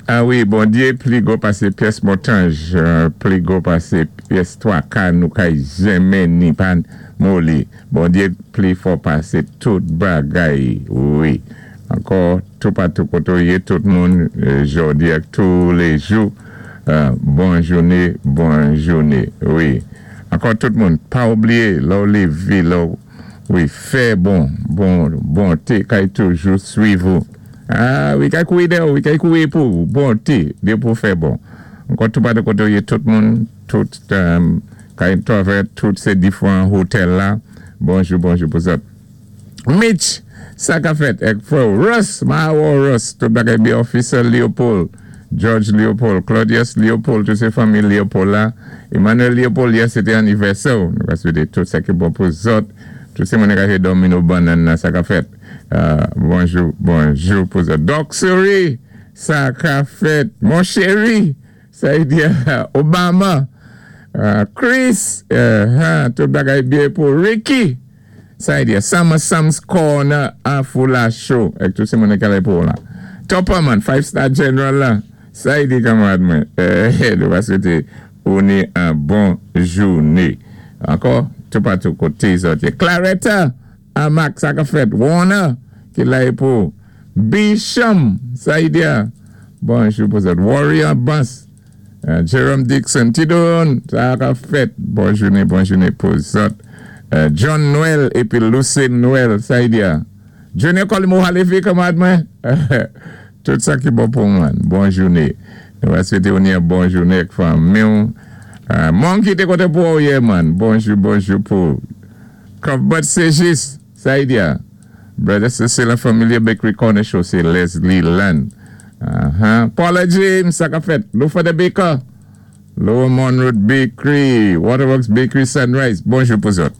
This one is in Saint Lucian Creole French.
A wi, Bondyé pli gwo pasé pyès Montanj, pli gwo pasé pyès twaka nou kay jenmen ni pa moli. Bondyé pli fò pasé tout bagay wi. Ankò toupatou koté ou yé, tout moun jòdi ak toulèjou, bon jouné, bon jouné wi. Ankò tout moun, pa oubliyé lè ou lévé, lè ou wi fè bon, bon, bonté kay toujou swiv ou. Ah wi kay kouri dèyè w wi kay kouri pou ou bonte depi w fè bon ankò toupatou kote w ye tout moun tout kay travè tout se difran hotel la bonjou bonjou pou zòt Mitch sa ka fèt èk frè w Russ ma wè w Russ tout bagay byen Officer Leopold George Leopold Claudius Leopold tout se fanmi Leopold la Emmanuel Leopold yè se te anivèsè w nou ka swete tout sa ki bon pou zòt tout se moun ki ka dòmi nou bannann nan sa ka fèt. Bonjou bonjou pou zòt. Doc Suri sa ka fèt mon cheri sa y di Obama Chris tout bagay byen pou Ricky sa y di Summer Sam's Corner Afoula Show ak tout se moun ki ale pou la Topperman Five Star General la sa y di kanmarad mwen nou va swete ou ni an bon joune ankò toupatou kote zòt ye Claretta A Max sa kap fèt Warner ki la e pou Bisham Saïdia bonjou pou zòt Warrior Bans Jerome Dixon Ti Don sa kap fèt bon jounen bon jounen pou zòt John Noël epi Lucine Noël Saïdia Junior Colimo Halevi kanmarad mwen tout sa ki bon pou mwen bon jounen nou va swete ou ni yon bon jounen ak fanmi w Monkey te kontan pou wè w yè man bonjou bonjou pou Cuthbert Ségis, Saïdia, Brother Cecile Familia Bakery Corner Show sé Leslie Land. Paula James, sa ka fèt? Lufa the Baker, Lower Morne Road Bakery, Waterworks Bakery Sunrise, bonjou pou zòt.